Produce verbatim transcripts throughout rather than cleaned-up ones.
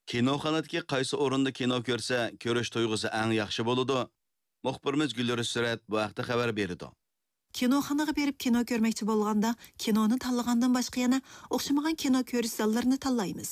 كىنوخانىدىكى قايسى ئورۇندا كىنو كۆرسە، كۆرۈش تۇيغۇسى ئەڭ ياخشى بولىدۇ؟ مۇخبىرىمىز گۈلرۈز سۈرەت بۇ ھەقتە خەۋەر بېرىدۇ. كىنوخانىغا بېرىپ كىنو كۆرمەكچى بولغاندا، كىنونى تاللىغاندىن باشقا يەنە ئوخشىمىغان كىنو كۆرۈش زاللىرىنى تاللايمىز.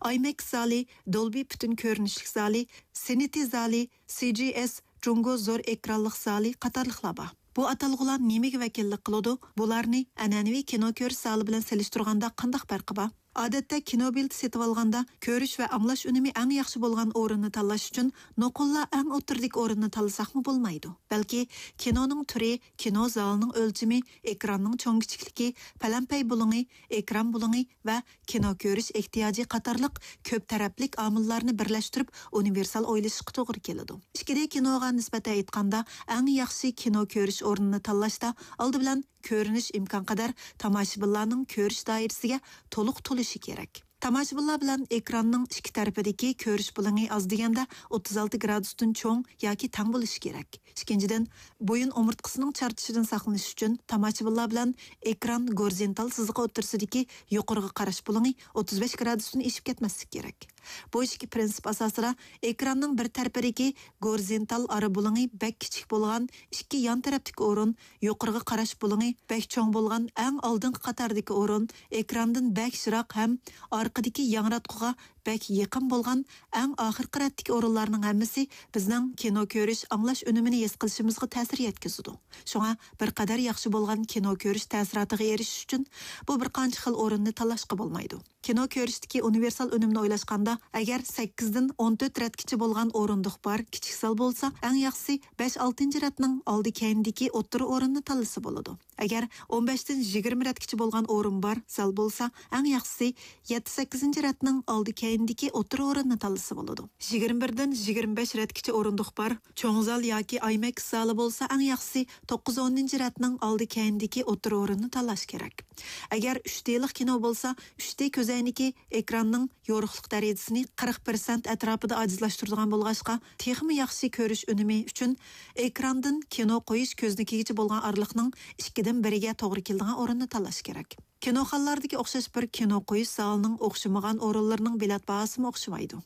ئايمەكس زالى، دولبى پۈتۈن كۆرۈنۈشلۈك زالى، سىنىتى زالى، سى جى ئېس، جۇڭگو زور ئېكرانلىق زالى قاتارلىقلار بار. بۇ ئاتالغۇلار نېمىگە ۋەكىللىك قىلىدۇ؟ بۇلارنى ئەنئەنىۋى كىنو كۆرۈش زالى بىلەن سېلىشتۇرغاندا قانداق پەرقى بار؟ ئادەتتە كىنو بېلىتى سېتىۋالغاندا كۆرۈش ۋە ئاڭلاش ئۈنۈمى ئەڭ ياخشى بولغان ئورۇننى تاللاش ئۈچۈن نوقۇللا ئەڭ ئوتتۇرىدىكى ئورۇننى تاللىساقمۇ بولمايدۇ. بەلكى كىنونىڭ تۈرى، كىنو زالىنىڭ ئۆلچىمى، ئېكراننىڭ چوڭ كىچىكلىكى، پەلەمپەي بۇلۇڭى، ئېكران بۇلۇڭى ۋە كىنو كۆرۈش ئېھتىياجى قاتارلىق كۆپ تەرەپلىك ئامىللارنى بىرلەشتۈرۈپ ئۇنىۋېرسال ئويلىشىشقا توغرا كېلىدۇ. ئىككى دى كىنوغا نىسبەتەن ئېيتقاندا، ئەڭ ياخشى كىنو كۆرۈش ئورنىنى تاللاشتا ئالدى بىلەن كۆرۈنۈش ئىمكانقەدەر تاماشىبىنلارنىڭ كۆرۈش دائىرىسىگە تولۇق تولۇشى كېرەك. تاماشىبىنلار بىلەن ئېكراننىڭ ئىككى تەرىپىدىكى كۆرۈش بۇلۇڭى ئاز دېگەندە ئوتتۇز ئالتە گرادۇستىن چوڭ ياكى تەڭ بولۇشى كېرەك. ئىككىنچىدىن، بويۇن ئومۇرتقىسىنىڭ چارچىشىدىن ساقلىنىش ئۈچۈن تاماشىبىنلار بىلەن ئېكران گورىزونتال سىزىقى ئوتتۇرىسىدىكى يۇقىرىغا قاراش بۇلۇڭى ئوتتۇز بەش گرادۇستىن ئېشىپ كەتمەسلىكى كېرەك. بۇ ئىككى پىرىنسىپ ئاساسىدا ئېكراننىڭ بىر تەرىپىدىكى گورىزونتال ئارا بۇلۇڭى بەك كىچىك بولغان ئىككى يان تەرەپتىكى ئورۇن، يۇقىرىغا قاراش بۇلۇڭى بەك چوڭ بولغان ئەڭ ئالدىنقى قاتاردىكى ئورۇن، ئېكراندىن بەك يىراق ھەم ئارقىدىكى ياڭراتقۇغا بەك يېقىن بولغان ئەڭ ئاخىرقى رەتتىكى ئورۇنلارنىڭ ھەممىسى بىزنىڭ كىنو كۆرۈش، ئاڭلاش ئۈنۈمىنى ھېس قىلىشىمىزغا تەسىر يەتكۈزىدۇ. شۇڭا بىر قەدەر ياخشى بولغان كىنو كۆرۈش تەسىراتىغا ئېرىشىش ئۈچۈن بۇ بىر قانچە خىل ئورۇننى تاللاشقا بولمايدۇ. كىنو كۆرۈشتىكى ئۇنىۋېرسال ئۈنۈمنى ئويلاشقاندا، ئەگەر سەككىزدىن ئون تۆت رەتكىچە بولغان ئورۇندۇق بار كىچىك زال بولسا، ئەڭ ياخشىسى بەش ئالتىنچى رەتنىڭ ئالدى كەينىدىكى ئوتتۇرا ئورۇننى تاللىسا بولىدۇ. ئەگەر ئون بەشتىن يىگىرمە رەتكىچە بولغان ئورۇن بار زال بولسا، ئەڭ ياخشىسى يەتتە سەككىزىنچى رەتنىڭ ئالدى كەينىدىكى ئوتتۇرا ئورۇننى تاللىسا بولىدۇ. يىگىرمە بىردىن يىگىرمە بەش رەتكىچە ئورۇندۇق بار چوڭ زال ياكى ئايمەكس زالى بولسا، ئەڭ ياخشىسى توققۇز ئونىنچى رەتنىڭ ئالدى كەينىدىكى ئوتتۇرا ئورۇننى تاللاش كېرەك. ئەگەر ئۈچ دېلىق كىنو بولسا، ئۈچ دې كۆزەينىكى ئېكراننىڭ يورۇقلۇق دەرىجىسىنى قىرىق پىرسەنت ئەتراپىدا ئاجىزلاشتۇرىدىغان بولغاچقا، تېخىمۇ ياخشى كۆرۈش ئۈنۈمى ئۈچۈن ئېكراندىن كىنو قويۇش كۆزنىكىگىچە بولغان ئارىلىقنىڭ ئىككىدىن بىرىگە توغرا كېلىدىغان ئورۇننى تاللاش كېرەك. كىنوخانىلاردىكى ئوخشاش بىر كىنو قويۇش زالىنىڭ ئوخشىمىغان ئورۇنلىرىنىڭ بېلەت باھاسىمۇ ئوخشىمايدۇ.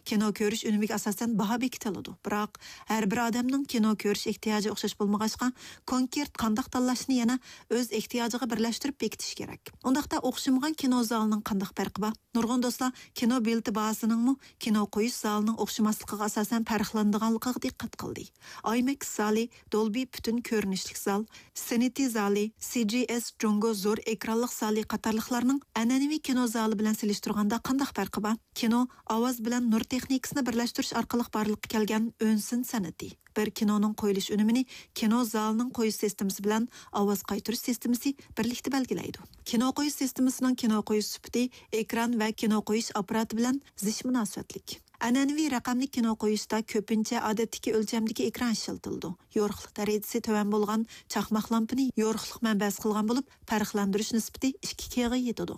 كىنو كۆرۈش ئۈنۈمىگە ئاساسەن باھا بېكىتىلىدۇ. بىراق، ھەر بىر ئادەمنىڭ كىنو كۆرۈش ئېھتىياجى ئوخشاش بولمىغاچقا، كونكرېت قانداق تاللاشنى يەنە ئۆز ئېھتىياجىغا بىرلەشتۈرۈپ بېكىتىش كېرەك. ئۇنداقتا ئوخشىمىغان كىنو زالىنىڭ قانداق پەرقى بار؟ نۇرغۇن دوستلار كىنو بېلىتى باھاسىنىڭمۇ كىنو قويۇش زالىنىڭ ئوخشىماسلىقىغا ئاساسەن پەرقلىنىدىغانلىقىغا دىققەت قىلدى. ئايمەكس زالى، دولبى پۈتۈن كۆرۈنۈشلۈك زال، سىنىتى زالى، سى جى ئېس جۇڭگو زور ئېكرانلىق زالى قاتارلىقلارنىڭ ئەنئەنىۋى كىنو زالى بىلەن سېلىشتۇرغاندا قانداق پەرقى بار؟ كىنو ئاۋاز بىلەن نۇر تېخنىكىسىنى بىرلەشتۈرۈش ئارقىلىق بارلىققا كەلگەن ئۈن سىن سەنئىتى. بىر كىنونىڭ قويۇلۇش ئۈنۈمىنى كىنو زالىنىڭ قويۇش سىستېمىسى بىلەن ئاۋاز قايتۇرۇش سىستېمىسى بىرلىكتە بەلگىلەيدۇ. كىنو قويۇش سىستېمىسىنىڭ كىنو قويۇش سۈپىتى ئېكران ۋە كىنو قويۇش ئاپپاراتى بىلەن زىچ مۇناسىۋەتلىك. ئەنئەنىۋى رەقەملىك كىنو قويۇشتا كۆپىنچە ئادەتتىكى ئۆلچەمدىكى ئېكران ئىشلىتىلىدۇ. يورۇقلۇق دەرىجىسى تۆۋەن بولغان چاقماق لامپىنى يورۇقلۇق مەنبەسى قىلغان بولۇپ، پەرقلەندۈرۈش نىسبىتى ئىككى كېغا يېتىدۇ.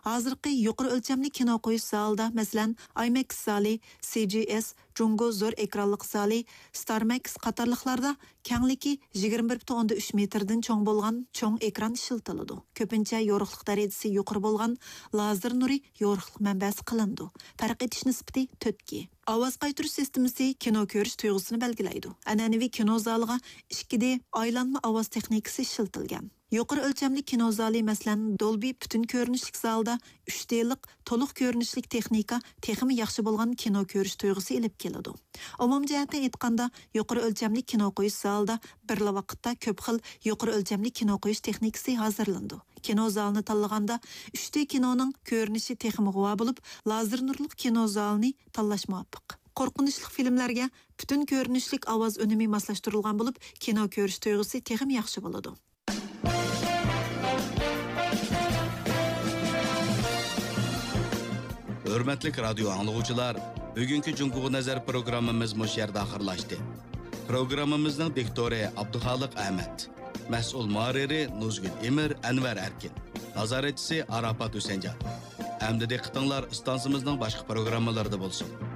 ھازىرقى يۇقىرى ئۆلچەملىك كىنو قويۇش زالىدا، مەسىلەن، ئايمەكس زالى، سى جى ئېس، جۇڭگو زور ئېكرانلىق زالى، ستارمەكس قاتارلىقلاردا كەڭلىكى يىگىرمە بىر پۈتۈن ئوندىن ئۈچ مېتىردىن چوڭ بولغان چوڭ ئېكران ئىشلىتىلىدۇ. كۆپىنچە يورۇقلۇق دەرىجىسى يۇقىرى بولغان لازېر نۇرى يورۇقلۇق مەنبەسى قىلىنىدۇ. پەرق ئېتىش نىسبىتى تۆتكە. ئاۋاز قايتۇرۇش سىستېمىسى كىنو كۆرۈش تۇيغۇسىنى بەلگىلەيدۇ. ئەنئەنىۋى كىنو زالىغا ئىككى دې ئايلانما ئاۋاز تېخنىكىسى ئىشلىتىلگەن. يۇقىرى ئۆلچەملىك كىنو زالى، مەسىلەن، دولبى پۈتۈن كۆرۈنۈشلۈك زالىدا ئۈچ دېلىق تولۇق كۆرۈنۈشلۈك تېخنىكا تېخىمۇ ياخشى بولغان كىنو كۆرۈش تۇيغۇسى ئېلىپ كېلىدۇ. ئومۇمىي جەھەتتىن ئېيتقاندا، يۇقىرى ئۆلچەملىك كىنو قويۇش زالىدا بىرلا ۋاقىتتا كۆپ خىل يۇقىرى ئۆلچەملىك كىنو قويۇش تېخنىكىسى ھازىرلىنىدۇ. كىنو زالىنى تاللىغاندا، ئۈچ دې كىنونىڭ كۆرۈنۈشى تېخىمۇ غۇۋا بولۇپ، لازېر نۇرلۇق كىنو زالىنى تاللاش مۇۋاپىق. قورقۇنچلۇق فىلىملەرگە پۈتۈن كۆرۈنۈشلۈك ئاۋاز ئۈنۈمى ماسلاشتۇرۇلغان بولۇپ، كىنو كۆرۈش تۇيغۇسى تېخىمۇ ياخشى بولىدۇ. ھۆرمەتلىك رادىيو ئاڭلىغۇچىلار، بۈگۈنكى جۇڭگوغا نەزەر پروگراممىمىز مۇشۇ يەردە ئاخىرلاشتى. پروگراممىمىزنىڭ دىكتورى ئابدۇخالىق ئەمەت، مەسئۇل مۇھەررىرى نۇزگۈل ئىمىر، ئەنۋەر ئەركىن، نازارەتچىسى ئاراپات ھۈسەنجان. ئەمدى دىققىتىڭلار ئىستانسىمىزنىڭ باشقا پروگراممىلىرىدا بولسۇن.